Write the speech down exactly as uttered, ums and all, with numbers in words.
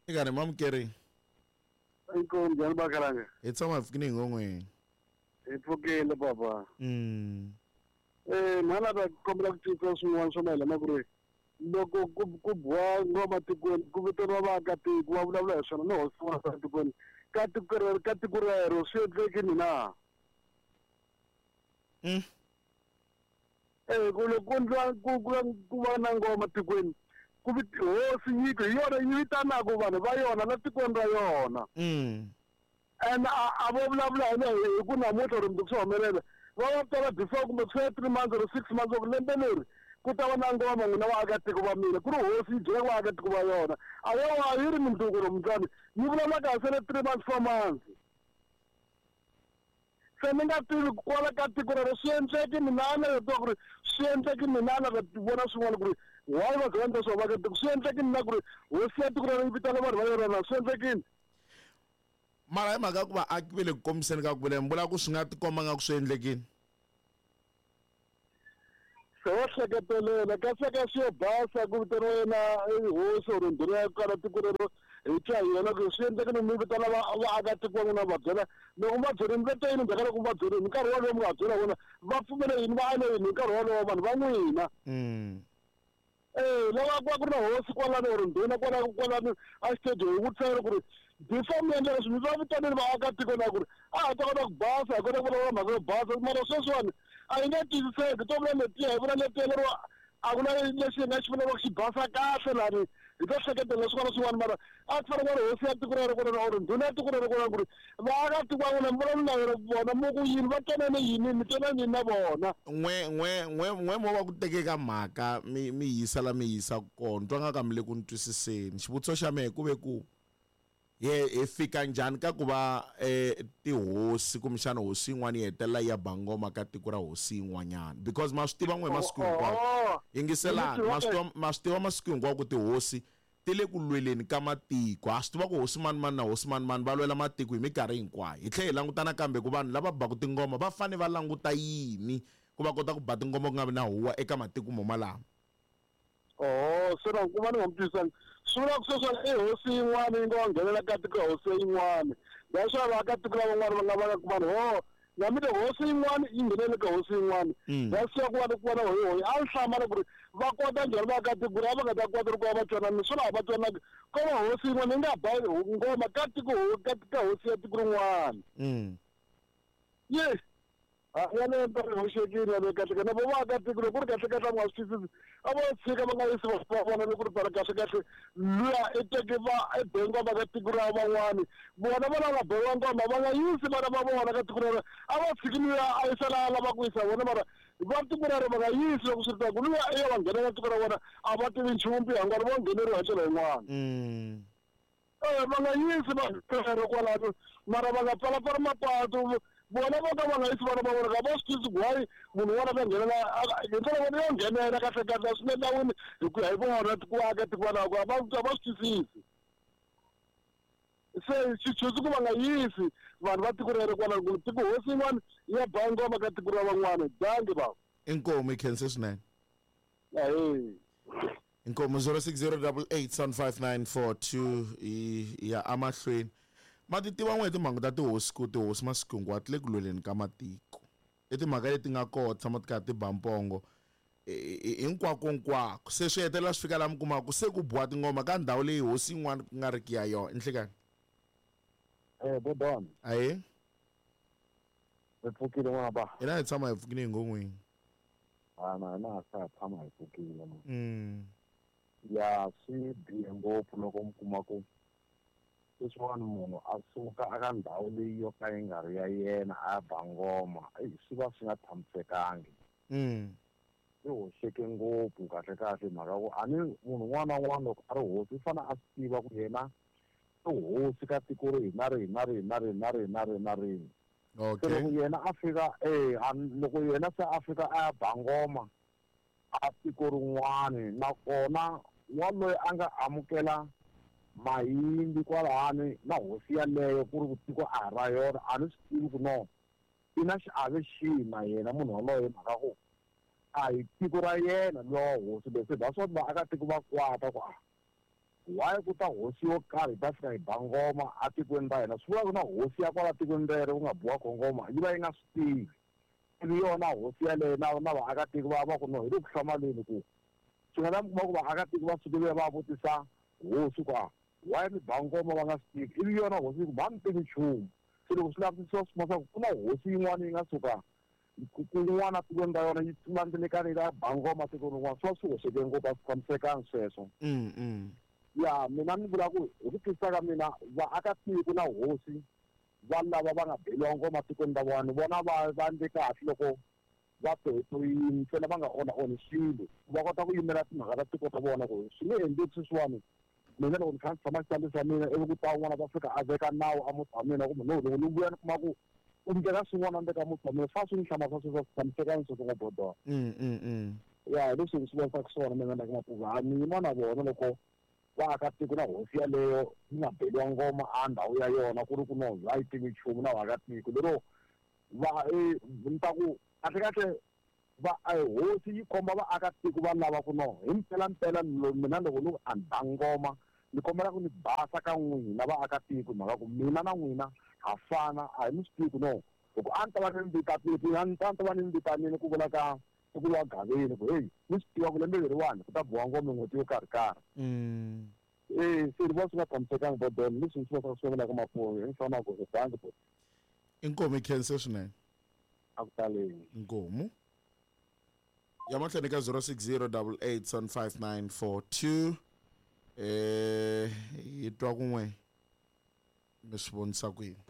Ikani mamukeri. Inkomu njhani Bakhalanga? Hi tshama hi pfukile hi ngon'weni. Hi pfukile papa. Mm. Eh mhala va kombela ku twisisa swin'wana swo mayelana ku ri loko ku ku biwa ngoma tikweni ku vitaniwa vaakatiko va vulavula hi swona ni hosi wa tikweni ka tiko rero ka tiko rero swi endlekini na? Mm. Eh ku loko ku endliwa ku ku ku va na ngoma tikweni ku hosi nyiko hi yona yi vitanaka vanhu va yona la tikweni ra yona. Mm. And a a vo vulavula hi hi ku namuntlha or mundzuku swi humelela va va tala before kumbe swi three months or six months or lembe leri ku ta va na ngoma n'wina vaakatiko va mina ku ri hosi yi byela vaakatiko va yona a yo a yi ri mundzuku or mundlani yi vulavula kahle sele three months four months se ni nga tivi kwala ka tiko rero swi endleki mina a na tiva ku ri swi endleki mina a na vona swin'wana ku ri why va byela leswo vaakatiko swi endleki mina ku ri hosi ya tiko rero yi vitana vanhu va yona na swi endlekini. Mara hi mhaka ku vaaki va le ku kombiseni ka ku vula mi vula ku swi nga tikomba nga ku swi endlekini. Se wa hleketelela kasi ka swi yo basa ku vitaniwa yena hosi or ndhuna ya kwala tiko rero hi twa hi yona ku swi endlekini mi vitana vaakatiko va n'wina va byela loko va byerini va te yini ndzhaku ka loko va byerini hi nkarhi wolowo mi nga byela vona va pfumele yini va ale yini hi nkarhi wolowo vanhu va n'wina. Mm. Eh lava ku va ku ri na hosi kwalano or ndhuna kwalano kwalano a xitediyo hi vutisela ku ri before mi endla leswi mi va vitanile vaakatiko na ku ri a ha ta kota ku basa hi kota ku vulavula mhaka yo basa mara sweswiwani a yi nge twisiseki to vula letiya hi vula letiya lero a ku na lexi hi nga xi vulaka xi basa kahle lani hi ta hleketelela swin'wana swin'wana mara a ku fanele ku ri hosi ya tiko rero kwalano or ndhuna ya tiko rero kwalano ku ri vaakatiko va n'wina mi vulavula na vona mu ku yini va twanane yini mi twanane yini na vona. N'we n'we n'we n'we mo va ku teke ka mhaka mi mi yisa la mi yisa kona twa nga ka mi le ku ni twisiseni xivutiso xa mehe ku ve ku ye hi fika njhani ka ku va eh tihosi kumbexana hosi yin'wana yi hetelela yi ya ba ngoma ka tiko ra hosi yin'wanyana because ma swi tiva n'we masiku hinkwawo yingiselani ma swi tiva ma swi tiva masiku hinkwawo ku tihosi ti le ku lweleni ka matiko ha swi tiva ku hosi mani mani na hosi mani mani va lwela matiko hi minkarhi hinkwayo hi tlhela hi langutana kambe ku vanhu lava baku tingoma va fanele va languta yini ku va kota ku ba tingoma ku nga vi na huwa eka matiko mo malama. Oh se na ku va ni nga mi twisisanga swi vula ku sweswi i hosi yin'wana yi nga nghenela ka tiko hosi yin'wana leswaku vaakatiko lavan'wana va nga va nga ku vanhu ho na mi te hosi yin'wana yi nghenele ka hosi yin'wana leswaku va ku va na hoyi hoyi a ni hlamala ku ri va kota njhani vaakatiko ku ri a va nga ta kota ku va va twanana swona a va twanangi ko va hosi yin'wana yi nga ba ngoma ka tiko ka ka hosi ya tiko rin'wana. Yes yaleyo ntirho hoxekile yaleyo kahle kahle na vo vaakatiko loko ku ri kahle kahle a nga swi twisisi a vo tshika va nga yisi va vona loko ri tala kahle kahle luya i teke va i be ngoma ka tiko ra van'wani vona va lava biwa ngoma va nga yisi vana va vona ka tiko rero a va tshiki luya a yisa laha a lava ku yisa vona mara va tiko rero va nga yisi loko swi ri tano luya i ya va nghenela tiko ra vona a va tivi nchumu mpihangwana vo ngheneriwa hi ndlela yin'wana. Eh va nga yisi va rero kwalano mara va nga pfalapfala mapatu vona vo ka va nga yisi vana va vona ka va swi twisisi ku why munhu un'wana a nghenela hi ndlela vona yo nghenela kahle kahle swi le nawini hi ku ya hi vona ku vaakatiko valavo a va a va swi twisisi se xichuzi ku va nga yisi vanhu va tiko rero kwalano ku tiko hosi yin'wana ya ba ngoma ka tiko ra van'wana dangi va. Inkomu hi khense swinene. Ahee. Inkomu zero six zero double eight seven five nine four two ya amahlweni. Ma ti tiva n'we hi timhangu ta tihosi ku tihosi masiku hinkwawo ti le ku lweleni ka matiko i timhaka leti nga kona tshama ti karhi ti ba mpongo hinkwako hinkwako se swi hetelela swi fika laha mi kumaka se ku biwa tingoma ka ndhawu leyi hosi yin'wana ku nga riki ya yona nhlikani. Eh Bodon. Aye. Hi pfukile n'wana ba. Hina hi tshama hi pfukile hi ngon'wini. A na hina ha tshama hi pfukile. Mm. Ya swi bihe ngopfu loko mi kuma ku sweswiwani munhu a suka eka ndhawu leyi yo ka yi nga ri ya yena a ya ba ngoma swi va swi nga tshamisekangi. Mm. Swi hoxeke ngopfu kahle kahle mhaka ku a ni munhu un'wana na un'wana loko a ri hosi u fanele a swi tiva ku yena i hosi ka tiko rihi na rihi na rihi na rihi na rihi na rihi na rihi. Okay. Se loko yena a fika eh loko yena se a fika a ya ba ngoma a tiko rin'wana nakona wa loyi a nga amukela mayimbi kwalani na hosi yaleyo ku ri ku tiko a ra yona a ni swi tivi ku no i na xiave xihi na yena munhu waloye mhaka ku a hi tiko ra yena lowa hosi leswi that's what vaakatiko va kwata ku a Why ku ta hosi yo karhi yi ta fika yi ba ngoma atikweni ra hina? Swi vula ku na hosi ya kwala tikweni rero ku nga biwa ko ngoma yi va yi nga swi tivi. Ivi yona hosi yaleyo na na vaakatiko va va ku no hi le ku hlamaleni ku swi nga ta mi kuma ku vaakatiko va sukile va vutisa hosi ku a why mi ba ngoma va nga swi tivi, ivi yona hosi yi ku va mi tivi nchumu. Se loko swi lavisisiwa swi kuma swa ku ku na hosi yin'wana yi nga suka kun'wana tikweni ra yona yi landzelekana yi ta ba ngoma tikweni rin'wana, swi va swi hoxeke ngopfu, a swi tshamisekanga sweswo. Mm, mm. Ya mina ni vula ku hi ku twisisa ka mina vaakatiko na hosi va lava va nga beliwa ngoma tikweni ra vona, ni vona va va endle kahle loko va toyitoyini ntsena va nga onha onhi swilo, va kota ku yimela timhaka ta tiko ta vona ku swi nge endleki sweswiwani. Mina loko ni kha ni tshama xitandi xa mina ivi ku ta un'wana va fika a veka nawu a muti wa mina kumbe no loko ni vuya ni kuma ku u ndlela swin'wana ndzeni ka muti wa mina, swa swi ni hlamarisa sweswo, swi tshamisekanga sweswo ngopfu dona. Mm, mm, mm. Ya hi leswi ni swi vonisaka swona mina na Mapuva, ni yima na vona loko vaakatiko na hosi yaleyo yi nga beliwa ngoma a ndhawu ya yona ku ri ku no a yi tivi nchumu na vaakatiko lero va ni ta ku kahle kahle va hosi yi komba vaakatiko va lava ku no hi mpela mpela mina loko ni ku a ni ba ngoma ni kombela ku ni basa ka n'wina vaakatiko, mhaka ku mina na n'wina ha fana, a hi mi swi tivi ku no loko a ni ta va ni vitanile a ni ta va ni vitanile ku vula ka ku wa gaveni ku hey mi swi tiva ku lembe leriwani ku ta biwa ngoma n'hweti yo karhi karhi. Mm. Eh se ni vona swi nga tshamisekanga bodon, leswi ni swi vonaka swi vonaka Mapuva hi fana ku bangi bo. Inkomu i khense swinene. A ku taleni. Inkomu. Ya mahlweni ka zero six zero double eight seven five nine four two. Eh yi twa kun'we mi swi vonisa ku yini?